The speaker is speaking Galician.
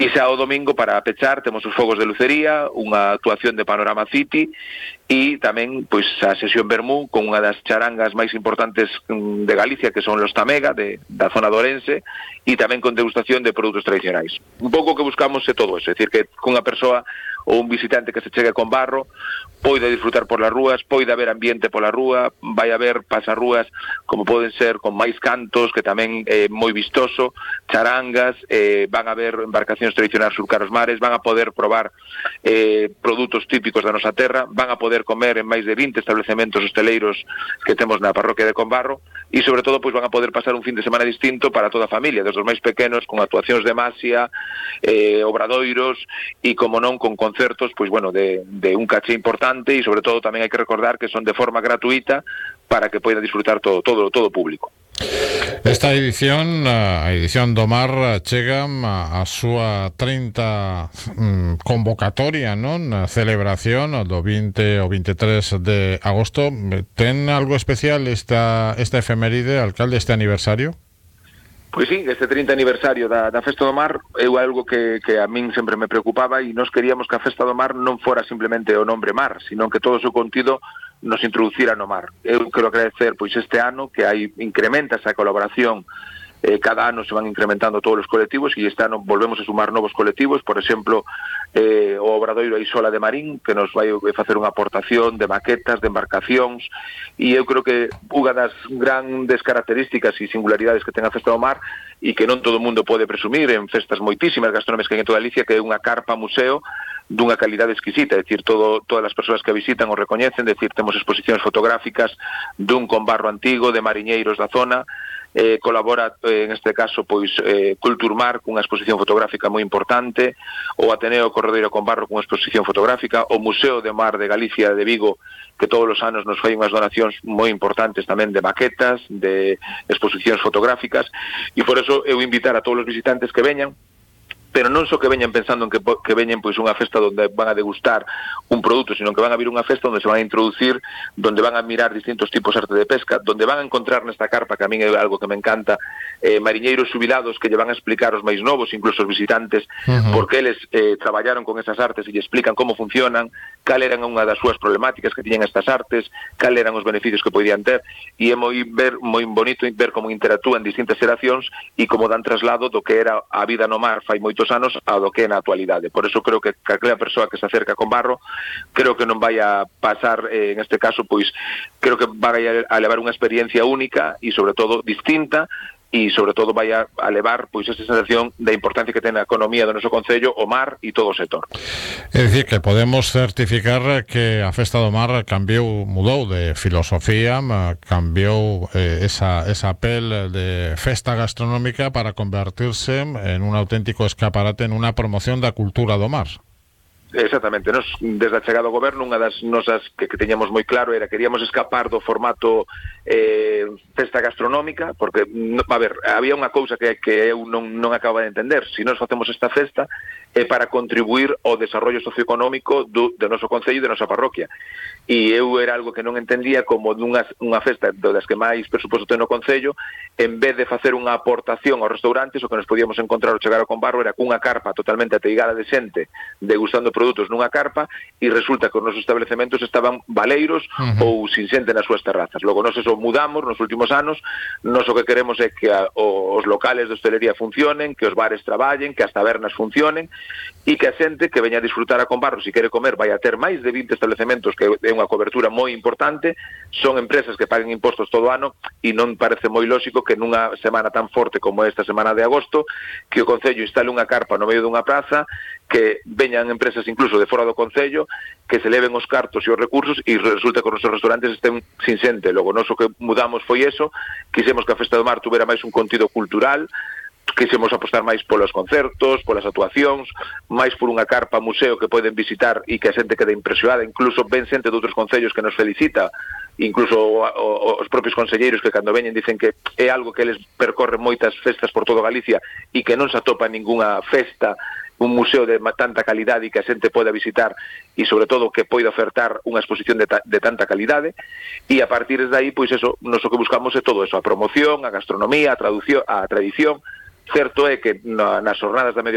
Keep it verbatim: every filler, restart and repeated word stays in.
E xa o domingo, para pechar, temos os fogos de lucería, unha actuación de Panorama City e tamén pois a sesión Vermú con unha das charangas máis importantes de Galicia, que son los Tamega, de, da zona de Ourense, e tamén con degustación de produtos tradicionais. Un pouco que buscamos é todo eso, é dicir, que cunha persoa ou un visitante que se chegue con Barro poida disfrutar por las rúas, poida haber ambiente pola rúa, vai haber pasarrúas como poden ser con máis cantos, que tamén é moi vistoso, charangas, eh, van a haber embarcacións tradicionais surcar os mares, van a poder probar eh, produtos típicos da nosa terra, van a poder comer en máis de vinte establecementos hosteleiros que temos na parroquia de Combarro, e sobre todo pois van a poder pasar un fin de semana distinto para toda a familia, desde os máis pequenos con actuacións de masia, eh, obradoiros e como non con concertos pois bueno, de, de un caché importante, e sobre todo tamén hai que recordar que son de forma gratuita para que poida disfrutar todo todo todo o público. Esta edición, a edición do Mar, chega a, a súa trinta um, convocatoria, non? A celebración do vinte ao veintitrés de agosto. Ten algo especial esta, esta efeméride, alcalde, este aniversario? Pois sí, este trinta aniversario da, da Festa do Mar é algo que, que a min sempre me preocupaba, e nós queríamos que a Festa do Mar non fora simplemente o nombre Mar, sino que todo o seu contido nos introducira no mar. Eu quero agradecer pois este ano que hai incrementa esa colaboración, eh, cada ano se van incrementando todos os colectivos, e este ano volvemos a sumar novos colectivos, por exemplo, eh, o Obradoiro Isola de Marín, que nos vai facer unha aportación de maquetas, de embarcacións, e eu creo que unha das grandes características e singularidades que ten a Festa do Mar, e que non todo o mundo pode presumir en festas moitísimas gastronómicas que hai en toda Galicia, que é unha carpa museo dunha calidade exquisita, é dicir, todo, todas as persoas que a visitan o recoñecen, é dicir, temos exposicións fotográficas dun Combarro antigo, de mariñeiros da zona, eh, colabora, eh, en este caso, pois, eh, Culturmar cunha exposición fotográfica moi importante, o Ateneo Corredeiro Combarro cunha exposición fotográfica, o Museo de Mar de Galicia de Vigo, que todos os anos nos fai unhas donacións moi importantes tamén de maquetas, de exposicións fotográficas, e por eso eu invitar a todos os visitantes que veñan, pero non só que veñan pensando en que, que veñen pois unha festa onde van a degustar un produto, sino que van a vir unha festa onde se van a introducir, donde van a mirar distintos tipos de arte de pesca, donde van a encontrar nesta carpa, que a min é algo que me encanta, eh, mariñeiros xubilados que lle van a explicar os máis novos, incluso os visitantes, uh-huh. porque eles eh, traballaron con esas artes e lle explican como funcionan, cal eran unha das súas problemáticas que tiñan estas artes, cal eran os beneficios que podían ter, e é moi ver moi bonito ver como interactúan distintas xeracións e como dan traslado do que era a vida no mar fai moitos anos a do que é na actualidade. Por eso creo que aquela persoa que se acerca con Barro, creo que non vai a pasar, eh, en este caso, pois, creo que vai a, a levar unha experiencia única e, sobre todo, distinta, e, sobre todo, vai a, a levar, pois, esa sensación da importancia que ten a economía do noso concello, o mar e todo o sector. É dicir, que podemos certificar que a Festa do Mar cambiou, mudou de filosofía, cambiou eh, esa, esa pel de festa gastronómica para convertirse en un auténtico escaparate, en unha promoción da cultura do mar. Exactamente, nos desde a chegada ao goberno unha das nosas que, que teñamos moi claro era que queríamos escapar do formato eh, festa gastronómica, porque, a ver, había unha cousa que, que eu non, non acaba de entender. Se nós facemos esta festa é para contribuir ao desarrollo socioeconómico do, do noso concello e da nosa parroquia, e eu era algo que non entendía como dunha, unha festa das que máis presuposto ten no concello, en vez de facer unha aportación aos restaurantes, o que nos podíamos encontrar ao chegar ao Combarro era cunha carpa totalmente ateigada de xente degustando produtos nunha carpa, e resulta que os nosos establecementos estaban baleiros uh-huh. ou sin xente nas súas terrazas. Logo, nós eso mudamos nos últimos anos, nós o que queremos é que a, os locales de hostelería funcionen, que os bares traballen, que as tabernas funcionen, e que a xente que veña a disfrutar a Combarro, se quere comer, vai a ter máis de vinte establecementos, que é unha cobertura moi importante, son empresas que paguen impostos todo o ano, e non parece moi lógico que nunha semana tan forte como esta semana de agosto, que o Concello instale unha carpa no medio dunha praza, que veñan empresas incluso de fora do Concello, que se leven os cartos e os recursos, e resulta que os nosos restaurantes estén sin xente. Logo, nós o que mudamos foi eso, quixemos que a Festa do Mar tuvera máis un contido cultural, quixemos apostar máis polos concertos, polas actuacións, máis por unha carpa museo que poden visitar e que a xente quede impresionada, incluso ven xente de outros concellos que nos felicita, incluso o, o, os propios conselleiros que cando veñen dicen que é algo que eles percorren moitas festas por todo Galicia e que non se atopa ningunha festa, un museo de tanta calidade e que a xente poda visitar, e sobre todo que poida ofertar unha exposición de, ta, de tanta calidade, e a partir de aí, pois eso, nos o que buscamos é todo eso, a promoción, a gastronomía, a traducción, a tradición. Certo é que na, nas jornadas da medio